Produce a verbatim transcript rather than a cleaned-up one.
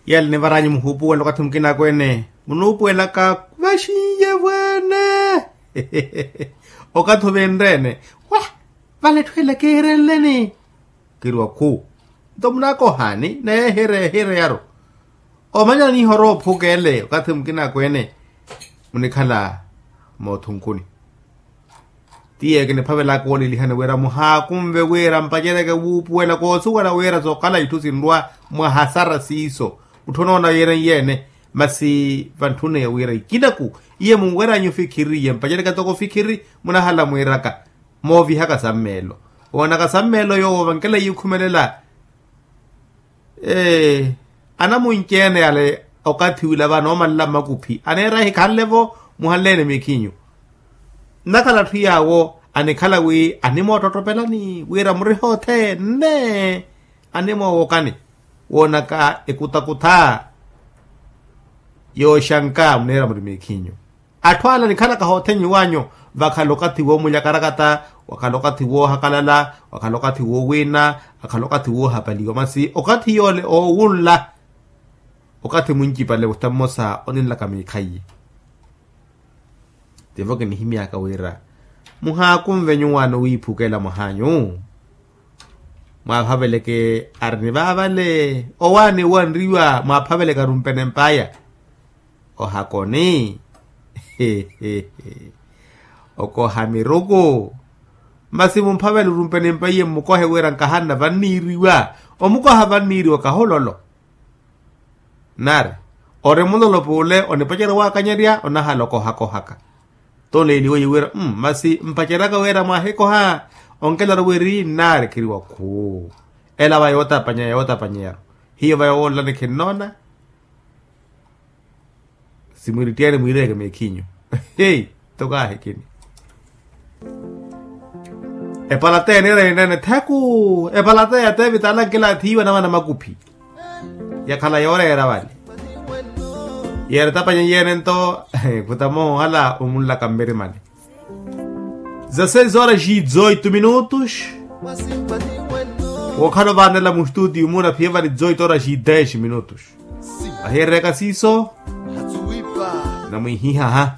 Yale nivaranyu muhuupuwela okathi mukina akweene munuupuwelaka vaxinye vweene. Okathi ovenreene wa vale etthu ela kihirenleni. Kiriwa khu nto munaakohaani naye ehire ehire yaru omanyana nihora oophuka ele okathi mukina akweene munikhala mootthunkuni. Tiye kiniphavelaka woolelihani wira muhaakunve wira mpaceryeke wuupuwela koosuwela wira sookhala itthu sinrwa mwa hasara siiso. Mutthu onoona yeene yeene masi vantthune wira ikinaku iye munweryanyu ofikhiri iye mpaceryeke toko ofikhiri munahala mwiiraka moovihaka sammeelo owoonaka sammeelo yoowo vankeleiye okhumelela. Ee anamunci-ene yale okathi wila vanoomalela mmakuphi aneera ahikhanle-vo muhanle-ene miikhinyu. Nnakhala atthu yaawo anikhala wi animoottottopelani wira muriha othene animoowokani woonaka ekutakutha yooxanka muneera muri miikhinyu. Atthu ala anikhalaka hoothenyi wanyu vakhala okathi woomulya karakata, wakhala okathi woohakalala, wakhala okathi woowina, akhala okathi woohapaliwa masi okathi yoole oowunla. Okathi muncipale wutta mmosa oninlaka miikhaiye. Tivo kinihimyaka wira muhaakunve nyuwaano wiiphukela mwahanyu. Mwaaphaveleke ari ni vaavale owaani owanriwa mwaaphaveleke arumpene mpaya. Ohakoni okoha miruku. Masi mumphavele orumpene mpaiye mmukohe wira nkahanna vanniiriwa. Omukoha vanniiriwa kahololo nari ori mulolopo ole onipacerya waakanyerya onahala okohakohaka. Toleeliweiye wira masi mpaceryaka wira mwaahikoha onkelaru wiri nari khiriwa khuu. Ela va yootapanyeya yootapanyeyaru hiyo va yowoolelani khinnoona. Simwirittiyaani mwiireyeke meekhinyu. Hei tokaahi kini epalateya niireyene neene thaku epalateya teevita ala nkilaathi iiwa namana makuphi. Yakhala yooreera vale yeeretapanya yeene nto khuta moohala omunlaka mmirimani. Za seis horas e dezoito minutos. Wookhala ovaanela mustutiyo muna phiye vali dezoito horas e dez minutos. Vahiyereryaka siiso namwihihaha.